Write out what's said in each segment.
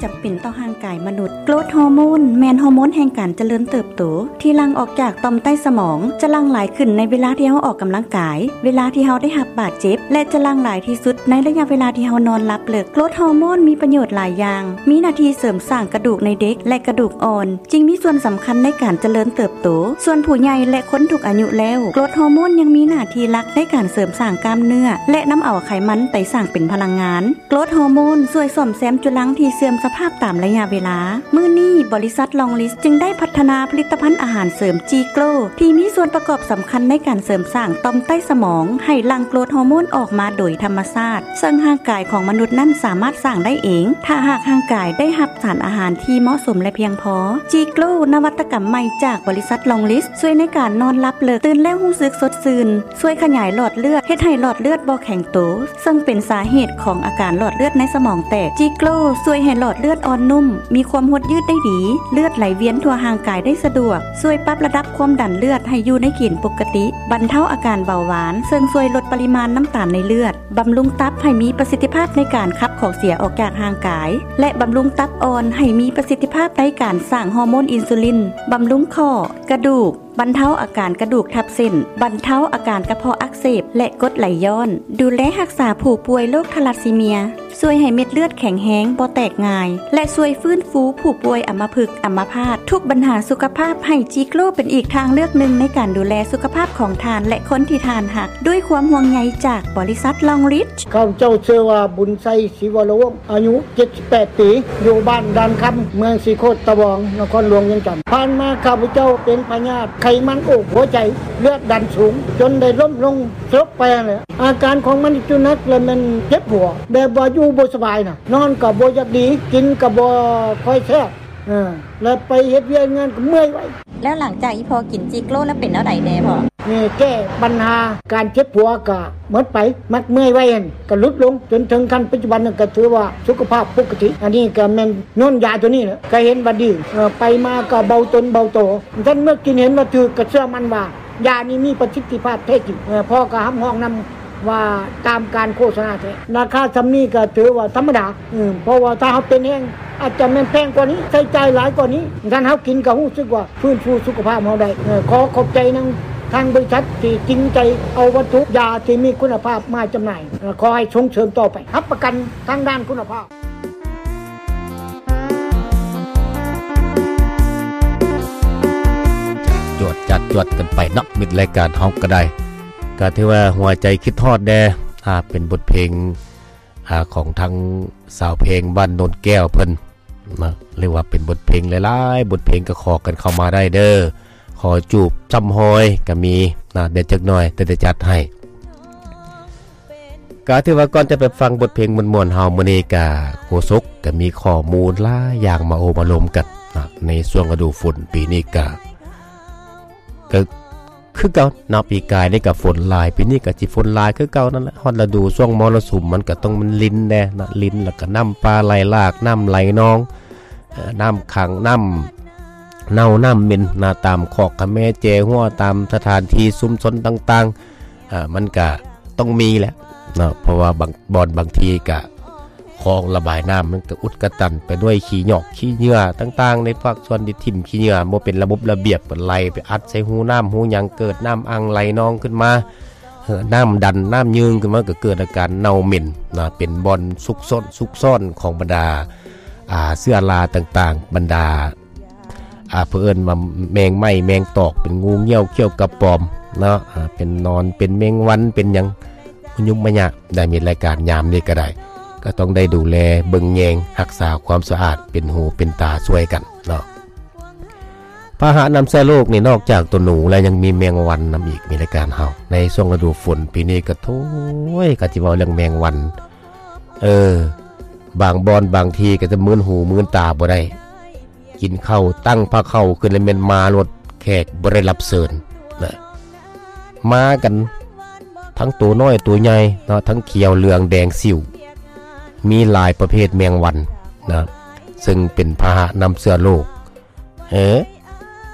ຈຳເປັນຕໍ່ຮ່າງກາຍມະນຸດ. ໂກຣດຮໍໂມນແມ່ນຮໍໂມນແຫ່ງການຈະເລີນເຕີບໂຕ ທີ່ຫຼັ່ງອອກຈາກຕ່ອມໃຕ້ສະໝອງ, ຈະຫຼັ່ງຫຼາຍຂຶ້ນໃນເວລາທີ່ເຮົາອອກກຳລັງກາຍ, ເວລາທີ່ເຮົາໄດ້ຮັບບາດເຈັບ ແລະ ຈະຫຼັ່ງຫຼາຍທີ່ສຸດໃນໄລຍະເວລາທີ່ເຮົານອນຫຼັບເລິກ. ໂກຣດຮໍໂມນມີປະໂຫຍດຫຼາຍຢ່າງ, ມີໜ້າທີ່ເສີມສ້າງກະດູກໃນເດັກ ແລະ ກະດູກອ່ອນ, ຈຶ່ງມີສ່ວນສຳຄັນໃນການຈະເລີນເຕີບໂຕ. ສ່ວນຜູ້ໃຫຍ່ ແລະ ຄົນທຸກອາຍຸແລ້ວ, ໂກຣດຮໍໂມນຍັງມີໜ້າທີ່ຫຼັກໃນການເສີມສ້າງກ້າມເນື້ອ ແລະ ນຳເອົາໄຂມັນໄປສ້າງເປັນພະລັງງານ. ໂກຣດຮໍໂມນຊ່ວຍສ້ອມແຊມຈຸລັງທີ່ເສື່ອມສະພາບຕາມໄລຍະເວລາ. ມື້ນີ້, ບໍລິສັດລອງລິດຈຶ່ງໄດ້ພັດທະນາຜະລິດຕະພັນອາຫານເສີມຈີໂກຣ ທີ່ມີສ່ວນປະກອບສຳຄັນໃນການເສີມສ້າງຕ່ອມໃຕ້ສະໝອງ ໃຫ້ຫຼັ່ງໂກຣດຮໍໂມນອອກມາໂດຍທຳມະຊາດ, ເຊິ່ງຮ່າງກາຍຂອງມະນຸດນັ້ນສາມາດສ້າງໄດ້ເອງ ຖ້າຫາກຮ່າງກາຍໄດ້ຮັບສານອາຫານທີ່ເໝາະສົມ ແລະ ພຽງພໍ. ຈີໂກຣ ນະວັດຕະກຳໃໝ່ຈາກບໍລິສັດລອງລິດ ຊ່ວຍໃນການນອນຫຼັບເລິກ, ຕື່ນແລ້ວຮູ້ສຶກສົດຊື່ນ, ຊ່ວຍຂະຫຍາຍຫຼອດເລືອດ, ເຮັດໃຫ້ຫຼອດເລືອດບໍ່ແຂງໂຕ, ເຊິ່ງເປັນສາເຫດຂອງອາການຫຼອດເລືອດໃນສະໝອງແຕກ. ຈີໂກຣຊ່ວຍໃຫ້ຫຼອດເລືອດອ່ອນນຸ້ມ, ມີຄວາມຫົດຍືດໄດ້ດີ, ເລືອດໄຫຼວຽນທົ່ວຮ່າງກາຍໄດ້ສະດວກ, ຊ່ວຍປັບລະດັບຄວາມດັນເລືອດໃຫ້ຢູ່ໃນເກນປົກກະຕິ, ບັນເທົາອາການເບົາຫວານ, ເຊິ່ງຊ່ວຍລົດປະລິມານນ້ຳຕານໃນເລືອດ, ບຳລຸງຕັບໃຫ້ມີປະສິດທິພາບໃນການຂັບຂອງເສຍອອກຈາກຮ່າງກາຍ ແລະ ບຳລຸງຕັບອ່ອນໃຫ້ມີປະສິດທິພາບໃນການສ້າງຮໍໂມນອິນຊູລິນ, ບຳລຸງຂໍ້, ກະດູກ, ບັນເທົາອາການກະດູກທັບເສັ້ນ, ບັນເທົາອາການກະເພາະອັກເສບ ແລະ ກົດໄຫຼຍ້ອນ, ດູແລຮັກສາຜູ້ປ່ວຍໂລກທາລັດຊີເມຍ, ຊ່ວຍໃຫ້ເມັດເລືອດແຂງແຮງ, ບໍ່ແຕກງ່າຍ ແລະ ຊ່ວຍຟື້ນຟູຜູ້ປ່ວຍອຳມະພຶກ, ອຳມະພາດ, ທຸກບັນຫາສຸຂະພາບ, ໃຫ້ຈີໂກຣເປັນອີກທາງເລືອກໜຶ່ງໃນການດູແລສຸຂະພາບຂອງທ່ານ ແລະ ຄົນທີ່ທ່ານຮັກ. ດ້ວຍຄວາມຫ່ວງໃຍຈາກບໍລິສັດລອງລິດ. ຂ້າພະເຈົ້າຊື່ວ່າ ບຸນໄຊ ສີວະລະວົງ ອາຍຸເຈັດສິບແປດປີ ຢູ່ບ້ານດານຄຳ ເມືອງສີໂຄດຕະບອງ ນະຄອນຫຼວງວຽງຈັນ. ຜ່ານມາຂ້າພະເຈົ້າເປັນພະຍາດໄຂມັນໂອກຫົວໃຈ ເລືອດດັນສູງ ຈົນໄດ້ລົ້ມລົງສະຫຼົບໄປຫັ້ນແຫຼະ. ອາການຂອງມັນຈຸໜັກ ແລະ ແມ່ນເຈັບຫົວ ແບບວ່າຢູ່ບໍ່ສະບາຍນະ, ນອນກໍບໍ່ຢາກດີ, ກິນກໍບໍ່ຄ່ອຍແຊບ, ເອີ ແລະ ໄປເຮັດວຽກເຮັດງານກໍເມື່ອຍໄວ. ແລ້ວຫຼັງຈາກອີ່ພໍ່ກິນຈີໂກຣແລ້ວເປັນແນວໃດແດ່ພໍ່? ນີ້ແກ້ບັນຫາການເຈັບຫົວກໍໝົດໄປ, ມັກເມື່ອຍໄວຫັ້ນກໍຫຼຸດລົງ, ຈົນເຖິງຂັ້ນປັດຈຸບັນນັ້ນກໍຖືວ່າສຸຂະພາບປົກກະຕິ. ອັນນີ້ກໍແມ່ນຍ້ອນຢາຕົວນີ້ແຫຼະ, ກໍເຫັນວ່າດີ, ເອີ ໄປມາກໍເບົາຕົນເບົາໂຕ. ຊັ້ນເມື່ອກິນເຫັນວ່າຖືກ ກໍເຊື່ອໝັ້ນວ່າຢານີ້ມີປະສິດທິພາບແທ້ຈິງ. ເອີ ພໍ່ກໍຮັບຮອງນຳ ວ່າຕາມການໂຄສະນາແທ້. ລາຄາສ່ຳນີ້ກໍຖືວ່າທຳມະດາ, ເອີ ເພາະວ່າຖ້າເຮົາເປັນແຮງ ອາດຈະແມ່ນແພງກວ່ານີ້, ໃຊ້ຈ່າຍຫຼາຍກວ່ານີ້, ຄັນເຮົາກິນກໍຮູ້ສຶກວ່າຟື້ນຟູສຸຂະພາບເຮົາໄດ້. ເອີ ຂໍຂອບໃຈນຳທາງບໍລິສັດທີ່ຈິງໃຈເອົາວັດຖຸຢາທີ່ມີຄຸນນະພາບມາຈຳໜ່າຍ. ເອີ ຂໍໃຫ້ສົ່ງເສີມຕໍ່ໄປ, ຮັບປະກັນທາງດ້ານຄຸນນະພາບ. ຈວດຈັດຈວດກັນໄປເນາະ ມິດລາຍການເຮົາກໍໄດ້. ກໍຖືວ່າຫົວໃຈຄິດຮອດແດ່ ອ່າ ເປັນບົດເພງ ອ່າ ຂອງທາງສາວເພງບ້ານໂນນແກ້ວເພິ່ນນະ, ເອີ້ນວ່າເປັນບົດເພງຫຼາຍໆ ບົດເພງກໍຂໍກັນເຂົ້າມາໄດ້ເດີ້. ຂໍຈູບຊ້ຳຮອຍກໍມີນະ, ແດ່ຈັກໜ່ອຍ ແຕ່ຈະຈັດໃຫ້. ກໍຖືວ່າກ່ອນຈະໄປຟັງບົດເພງມ່ວນໆເຮົາ, ມື້ນີ້ກະໂຄສົກກໍມີຂໍ້ມູນຫຼາຍຢ່າງມາໂອ້ມາລົມກັນນະ. ໃນຊ່ວງລະດູຝົນປີນີ້ກະ ກໍຄືເກົ່າເນາະ, ປີກາຍນີ້ກໍຝົນຫຼາຍ, ປີນີ້ກໍຊິຝົນຫຼາຍຄືເກົ່ານັ້ນແຫຼະ. ຮອດລະດູຊ່ວງມໍລະສຸມ ມັນກໍຕ້ອງແມ່ນລິນແດ່ນະ, ລິນ ແລ້ວກໍນ້ຳປ່າໄຫຼຫຼາກ, ນ້ຳໄຫຼນອງ, ເອີ ນ້ຳຂັງ, ນ້ຳເນົ່າ, ນ້ຳເໝັນນະ, ຕາມຄອກຂະແມແຈຮົວ, ຕາມສະຖານທີ່ຊຸມຊົນຕ່າງໆ. ອ່າ ມັນກະຕ້ອງມີແຫຼະເນາະ, ເພາະວ່າບາງບ່ອນບາງທີກະ ຄອງລະບາຍນ້ຳມັນກະອຸດກະຕັນໄປດ້ວຍຂີ້ຫຍອກຂີ້ເຫຍື້ອຕ່າງໆ ໃນພາກສ່ວນທີ່ຖິ້ມຂີ້ເຫຍື້ອບໍ່ເປັນລະບົບລະບຽບ ກໍໄຫຼໄປອັດໃສ່ຮູນ້ຳຮູຫຍັງ, ເກີດນ້ຳອັ່ງໄຫຼນອງຂຶ້ນມາ, ເອີ ນ້ຳດັນ, ນ້ຳຍືງຂຶ້ນມາ, ກໍເກີດອາການເນົ່າເໝັນນະ, ເປັນບ່ອນຊຸກຊອນ, ຊຸກຊອນຂອງບັນດາ ອ່າ ເຊື້ອລາຕ່າງໆ, ບັນດາ ອ່າ ເພິ່ນເອີ້ນວ່າແມງໄມ້ແມງຕອກ, ເປັນງູງຽວຂຽວກະປອມເນາະ, ອ່າ ເປັນໜອນ, ເປັນແມງວັນ, ເປັນຫຍັງມະຍຸມມະຍະໄດ້. ມີລາຍການຍາມນີ້ກໍໄດ້, ກໍຕ້ອງໄດ້ດູແລເບິ່ງແຍງ, ຮັກສາຄວາມສະອາດ, ເປັນຫູເປັນຕາຊ່ວຍກັນເນາະ. ພາຫະນຳເຊື້ອໂລກນີ້ ນອກຈາກຕົວໜູແລ້ວ ຍັງມີແມງວັນນຳອີກ. ມີລາຍການເຮົາໃນຊ່ວງລະດູຝົນປີນີ້ກໍ ໂທ້ຍ ກໍຊິເວົ້າເລື່ອງແມງວັນ, ເອີ ບາງບ່ອນບາງທີ່ກໍຈະມື່ນຫູມື່ນຕາບໍ່ໄດ້. ກິນເຂົ້າ, ຕັ້ງພາເຂົ້າຂຶ້ນແລ້ວແມ່ນມາໂລດ, ແຂກບໍ່ໄດ້ຮັບເຊີນນະ, ມາກັນທັງໂຕນ້ອຍໂຕໃຫຍ່ເນາະ, ທັງຂຽວເຫຼືອງແດງສິວ, ມີຫຼາຍປະເພດແມງວັນນະ, ເຊິ່ງເປັນພາຫະນຳເຊື້ອໂລກ, ເອີ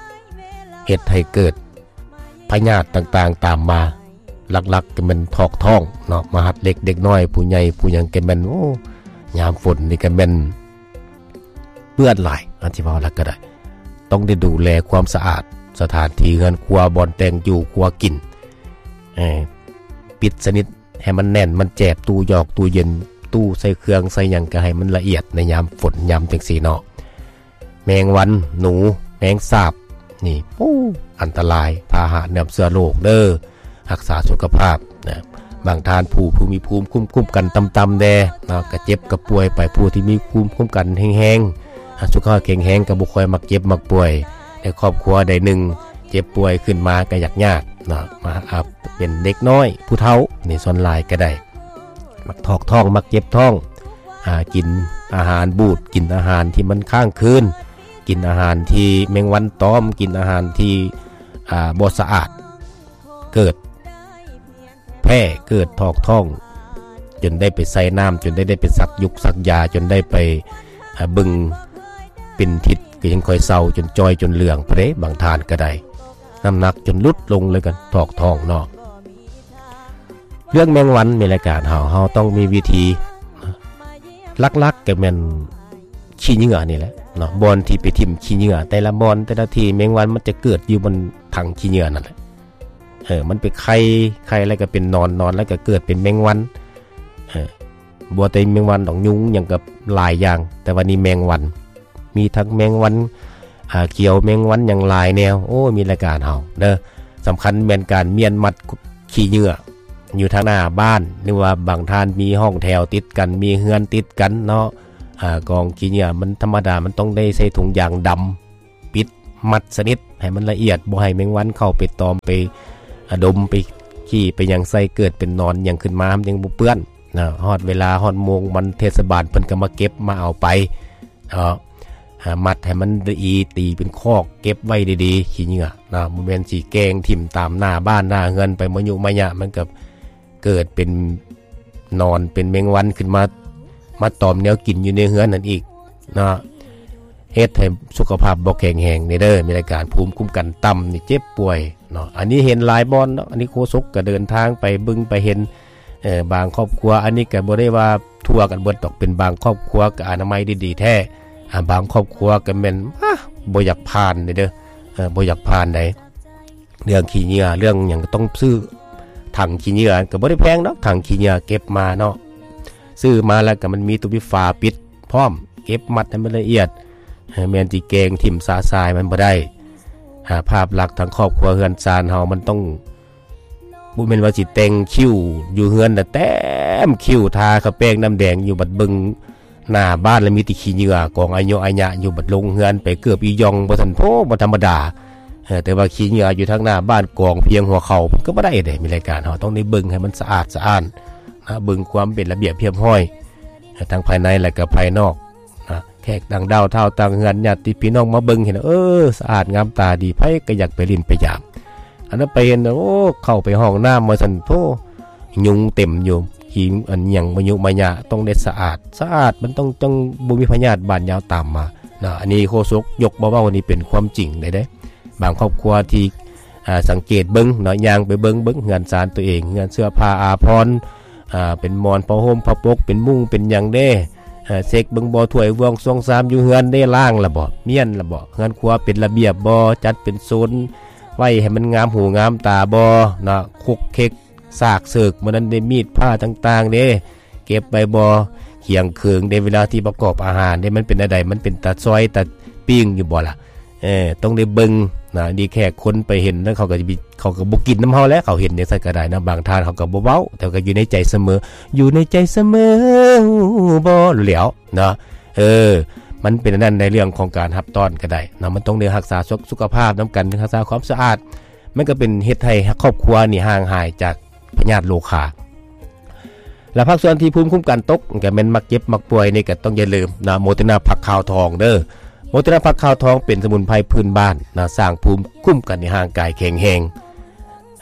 ເຮັດໃຫ້ເກີດພະຍາດຕ່າງໆຕາມມາ. ຫຼັກໆກໍແມ່ນຖອກທ້ອງເນາະ, ມາຮັດເດັກ, ເດັກນ້ອຍ, ຜູ້ໃຫຍ່, ຜູ້ຫຍັງກໍແມ່ນ, ໂອ້ ຍາມຝົນນີ້ກໍແມ່ນ ເປື້ອນຫຼາຍ ອາດຊິເວົ້າແລ້ວກໍໄດ້. ຕ້ອງໄດ້ດູແລຄວາມສະອາດ ສະຖານທີ່ເຮືອນຄົວ ບ່ອນແຕ່ງຢູ່ຄົວກິນ ເອີ ປິດສະໜິດ ໃຫ້ມັນແໜ້ນ ມັນແຈບ ຕູ້ຢອກ ຕູ້ເຢັນ ຕູ້ໃສ່ເຄື່ອງໃສ່ຫຍັງ ກໍໃຫ້ມັນລະອຽດໃນຍາມຝົນຍາມຈັ່ງຊີ້ເນາະ. ແມງວັນ ໜູ ແມງສາບ ນີ້ ໂອ້ ອັນຕະລາຍ ພາຫະນຳເຊື້ອໂລກເດີ. ຮັກສາສຸຂະພາບນະ ບາງທ່ານຜູ້ ຜູ້ມີພູມຄຸ້ມ ຄຸ້ມກັນຕ່ຳໆແດ່ເນາະ ກະເຈັບກະປ່ວຍໄປ. ຜູ້ທີ່ມີພູມຄຸ້ມກັນແຮງໆ ອາ ສຸຂະພາບແຂງແຮງ ກະບໍ່ຄ່ອຍມັກເຈັບມັກປ່ວຍ. ໃນຄອບຄົວໃດໜຶ່ງເຈັບປ່ວຍຂຶ້ນມາກະຢາກຍາກເນາະ ມາ ອາ ເປັນເດັກນ້ອຍ ຜູ້ເຖົ້ານີ້ ສ່ວນຫຼາຍກະໄດ້ ມັກຖອກທ້ອງ ມັກເຈັບທ້ອງ ອາ ກິນອາຫານບູດ ກິນອາຫານທີ່ມັນຄ້າງຄືນ ກິນອາຫານທີ່ແມງວັນຕອມ ກິນອາຫານທີ່ ອາ ບໍ່ສະອາດ ເກີດແພ້ ເກີດຖອກທ້ອງ ຈົນໄດ້ໄປໃສ່ນ້ຳ ຈົນໄດ້ ໄດ້ໄປສັກຢູກສັກຢາ ຈົນໄດ້ໄປ ອາ ເບິ່ງເປັນທິດ ກໍຍັງຄ່ອຍເຊົາ ຈົນຈ່ອຍ ຈົນເຫຼືອງພຸ້ນເດ້. ບາງທ່ານກໍໄດ້ ນ້ຳໜັກຈົນຫຼຸດລົງເລີຍ ກໍຖອກທ້ອງເນາະ. ເລື່ອງແມງວັນ ແມ່ນລາຍການເຮົາ ເຮົາຕ້ອງມີວິທີ ຫຼັກໆກໍແມ່ນຂີ້ເຫຍື້ອນີ້ແຫຼະເນາະ ບ່ອນທີ່ໄປຖິ້ມຂີ້ເຫຍື້ອ ແຕ່ລະບ່ອນ ແຕ່ລະທີ່ ແມງວັນມັນຈະເກີດຢູ່ບ່ອນຖັງຂີ້ເຫຍື້ອນັ້ນແຫຼະ. ເອີ ມັນໄປໄຂ່ ໄຂ່ແລ້ວກໍເປັນໜອນ ໜອນແລ້ວກໍເກີດເປັນແມງວັນ. ເອີ ບໍ່ແຕ່ແມງວັນດອກ ຍຸງຫຍັງກໍຫຼາຍຢ່າງ ແຕ່ວ່ານີ້ແມງວັນ ມີທັງແມງວັນ ອາ ຂຽວ ແມງວັນຫຍັງຫຼາຍແນວ. ໂອ້ ມີລາຍການເຮົາເດີ ສຳຄັນແມ່ນການມ້ຽນມັດຂີ້ເຫຍື້ອຢູ່ທາງໜ້າບ້ານ ຫຼືວ່າບາງທ່ານມີຫ້ອງແຖວຕິດກັນ ມີເຮືອນຕິດກັນເນາະ ອາ ກອງຂີ້ເຫຍື້ອມັນທຳມະດາ ມັນຕ້ອງໄດ້ໃສ່ຖົງຢາງດຳ ປິດມັດສະໜິດໃຫ້ມັນລະອຽດ ບໍ່ໃຫ້ແມງວັນເຂົ້າໄປຕອມ ໄປ ອາ ດົມ ໄປຂີ້ ໄປຫຍັງໃສ່ ເກີດເປັນໜອນຫຍັງຂຶ້ນມາ ມັນຍັງບໍ່ເປື້ອນນະ. ຮອດເວລາ ຮອດໂມງມັນ ເທດສະບານເພິ່ນກໍມາເກັບມາເອົາໄປເນາະ ອາ ມັດໃຫ້ມັນດີ ຕີເປັນຄອກເກັບໄວ້ດີໆ ຂີ້ເຫຍື້ອນະ ບໍ່ແມ່ນຊິແກງຖິ້ມຕາມໜ້າບ້ານໜ້າເຮືອນໄປ ມະຍຸມະຍະ ມັນກໍເກີດເປັນໜອນ ເປັນແມງວັນຂຶ້ນມາ ມາຕອມແນວກິນຢູ່ໃນເຮືອນນັ້ນອີກເນາະ. ເຮັດໃຫ້ສຸຂະພາບບໍ່ແຂງແຮງນີ້ເດີ ມີລາຍການພູມຄຸ້ມກັນຕ່ຳນີ້ ເຈັບປ່ວຍເນາະ. ອັນນີ້ເຫັນຫຼາຍບ່ອນເນາະ ອັນນີ້ໂຄສົກກໍເດີນທາງໄປເບິ່ງໄປເຫັນ ເອີ ບາງຄອບຄົວ ອັນນີ້ກໍບໍ່ໄດ້ວ່າທົ່ວກັນເບິດດອກ ເປັນບາງຄອບຄົວກໍອະນາໄມດີໆແທ້ ອາ ບາງຄອບຄົວກໍແມ່ນ ອາ ບໍ່ຢາກຜ່ານເດີ ເອີ ບໍ່ຢາກຜ່ານໃດ. ເລື່ອງຂີ້ເຫຍື້ອ ເລື່ອງຫຍັງກໍຕ້ອງຊື້ຖັງຂີ້ເຫຍື້ອ ກໍບໍ່ໄດ້ແພງດອກ ຖັງຂີ້ເຫຍື້ອເກັບມາເນາະ ຊື້ມາແລ້ວກໍມັນມີຕົວມີຝາປິດພ້ອມ ເກັບມັດໃຫ້ມັນລະອຽດ ແມ່ນຊິແກງຖິ້ມຊະຊາຍມັນບໍ່ໄດ້. ອາ ພາບລັກທາງຄອບຄົວເຮືອນຊານເຮົາ ມັນຕ້ອງ ບໍ່ແມ່ນວ່າຊິແຕ່ງຄິ້ວຢູ່ເຮືອນນະ ແຕ້ມຄິ້ວ ທາຂາວແປ້ງນ້ຳແດງຢູ່ ບັດເບິ່ງໜ້າບ້ານລະມີແຕ່ຂີ້ເຫຍື້ອກອງອາຍຸອາຍະຢູ່ ບັດລົງເຮືອນໄປເກີບອີ່ຢ່ອງ ບໍ່ທັນ ໂພ ບໍ່ທຳມະດາ. ເອີ ແຕ່ວ່າຂີ້ເຫຍື້ອຢູ່ທາງໜ້າບ້ານກອງພຽງຫົວເຂົ່າ ມັນກໍບໍ່ໄດ້ເດ້. ມີລາຍການເຮົາຕ້ອງໄດ້ເບິ່ງໃຫ້ມັນສະອາດສະອ້ານນະ ເບິ່ງຄວາມເປັນລະບຽບຮຽບຮ້ອຍ ທັງພາຍໃນ ແລະ ກໍພາຍນອກນະ. ແຂກຕ່າງດ້າວ ທ້າວຕ່າງເຮືອນ ຍາດຕິພີ່ນ້ອງມາເບິ່ງເຫັນ ເອີ ສະອາດງາມຕາດີ ໃຜກໍຢາກໄປຫຼິ້ນໄປຢາມ. ອັນນັ້ນໄປເຫັນ ໂອ້ ເຂົ້າໄປຫ້ອງນ້ຳວ່າຊັ້ນ ໂທ້ ຍຸງເຕັມຢູ່ ຂີ້ ອັນຫຍັງມະຍຸມະຍະ ຕ້ອງໄດ້ສະອາດ ສະອາດ ມັນຕ້ອງ ຕ້ອງບໍ່ມີພະຍາດບາດຍາວຕາມມາເນາະ. ອັນນີ້ໂຄສົກຍົກມາເວົ້າ ນີ້ເປັນຄວາມຈິງເດ້. ບາງຄອບຄົວທີ່ ອາ ສັງເກດເບິ່ງເນາະ ຍ່າງໄປເບິ່ງ ເບິ່ງເຮືອນຊານຕົວເອງ ເຮືອນເສື້ອຜ້າອາພອນ ອາ ເປັນໝອນຜ້າຫົ່ມຜ້າປົກ ເປັນມຸ້ງເປັນຫຍັງເດ້ ອາ ເຊັກເບິ່ງບໍ່ ຖ້ວຍບ່ວງຊວງຊາມຢູ່ເຮືອນເດ້ ລ້າງລະບໍ່ ມ້ຽນລະບໍ່ ເຮືອນຄົວເປັນລະບຽບບໍ່ ຈັດເປັນໂຊນໄວ້ໃຫ້ມັນງາມຫູງາມຕາບໍ່ເນາະ. ຄົກເຄັກ ສາກເສີກ ມື້ນັ້ນເດ້ ມີດພ້າຕ່າງໆເດ້ ເກັບໄວ້ບໍ່ ຄຽງເຄີງເດ້ ເວລາທີ່ປະກອບອາຫານເດ້ ມັນເປັນແນວໃດ ມັນເປັນຕາຊອຍຕາປີ້ງຢູ່ບໍ່ລະ. ເອີ ຕ້ອງໄດ້ເບິ່ງນະ ອັນນີ້ແຂກຄົນໄປເຫັນນະ ເຂົາກໍຈະ ເຂົາກໍບໍ່ກິນນຳເຮົາແຫຼະ ເຂົາເຫັນຈັ່ງຊັ້ນກໍໄດ້ນະ. ບາງທ່ານເຂົາກໍບໍ່ເວົ້າ ແຕ່ກໍຢູ່ໃນໃຈສະເໝີ ຢູ່ໃນໃຈສະເໝີ ຮູ້ບໍ່ ຮູ້ແລ້ວເນາະ. ເອີ ມັນເປັນອັນນັ້ນ ໃນເລື່ອງຂອງການຮັບຕ້ອນກໍໄດ້ເນາະ ມັນຕ້ອງໄດ້ຮັກສາສຸ ສຸຂະພາບນຳກັນ ຮັກສາຄວາມສະອາດ ມັນກໍເປັນເຮັດໃຫ້ຄອບຄົວນີ້ຫ່າງຫາຍຈາກພະຍາດໂລຄາ. ແລະ ພາກສ່ວນທີ່ພູມຄຸ້ມກັນຕົກ ກໍແມ່ນມັກເຈັບມັກປ່ວຍ ນີ້ກໍຕ້ອງຢ່າລືມນະ ໂມເຕີນາຜັກຂາວທອງເດີ. ໂມເຕີນາຜັກຂາວທອງເປັນສະໝຸນໄພພື້ນບ້ານນະ ສ້າງພູມຄຸ້ມກັນໃຫ້ຮ່າງກາຍແຂງແຮງ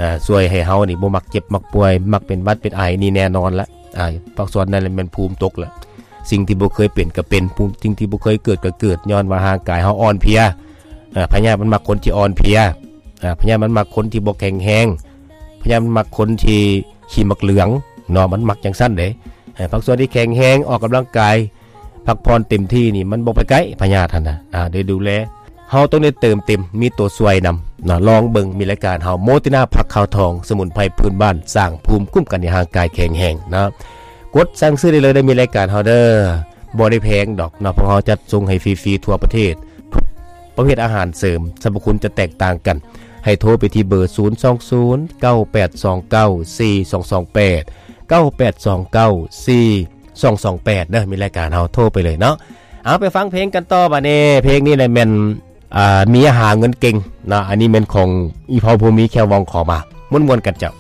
ອາ ຊ່ວຍໃຫ້ເຮົານີ້ບໍ່ມັກເຈັບມັກປ່ວຍ ມັກເປັນຫວັດເປັນໄອ ນີ້ແນ່ນອນລະ. ອາ ພາກສ່ວນນັ້ນແມ່ນພູມຕົກລະ ສິ່ງທີ່ບໍ່ເຄີຍເປັນກໍເປັນ ຜູ້ ສິ່ງທີ່ບໍ່ເຄີຍເກີດກໍເກີດ ຍ້ອນວ່າຮ່າງກາຍເຮົາອ່ອນເພຍ. ອາ ພະຍາດມັນມັກຄົນທີ່ອ່ອນເພຍ ອາ ພະຍາດມັນມັກຄົນທີ່ບໍ່ແຂງແຮງ ພະຍາດມັນມັກຄົນທີ່ຂີ້ໝາກເຫຼືອງເນາະ ມັນມັກຈັ່ງຊັ້ນເດ້. ອາ ພາກສ່ວນທີ່ແຂງແຮງ ອອກກຳລັງກາຍ ພັກຜ່ອນເຕັມທີ່ນີ້ ມັນບໍ່ໄປໄກພະຍາດຫັ້ນນະ ອ່າ ໄດ້ດູແລ ເຮົາຕ້ອງໄດ້ເຕີມເຕັມ ມີຕົວຊ່ວຍນຳເນາະ. ລອງເບິ່ງ ມີລາຍການເຮົາ ໂມຕິນາຜັກຂາວທອງ ສະໝຸນໄພພື້ນບ້ານ ສ້າງພູມຄຸ້ມກັນໃຫ້ຮ່າງກາຍແຂງແຮງເນາະ. ກົດສັ່ງຊື້ໄດ້ເລີຍເດີ ມີລາຍການເຮົາເດີ ບໍ່ໄດ້ແພງດອກເນາະ ພວກເຮົາຈັດສົ່ງໃຫ້ຟຣີໆທົ່ວປະເທດ. ປະເພດອາຫານເສີມ ສັບພະຄຸນຈະແຕກຕ່າງກັນ. ໃຫ້ໂທໄປທີ່ເບີ ສູນສອງສູນ ເກົ້າແປດສອງເກົ້າ ສີ່ສອງສອງແປດ ເກົ້າແປດສອງເກົ້າ ສີ່ສອງສອງແປດ ເດີ ມີລາຍການເຮົາ ໂທໄປເລີຍເນາະ. ເອົາ ໄປຟັງເພງກັນຕໍ່ບາດນີ້. ເພງນີ້ແຫຼະແມ່ນ ອ່າ ເມຍຫາເງິນເກັ່ງເນາະ. ອັນນີ້ແມ່ນຂອງອີ່ພໍ່ຜູ້ມີແຄວວອງຂໍມາ. ມ່ວນໆກັນເຈົ້າ.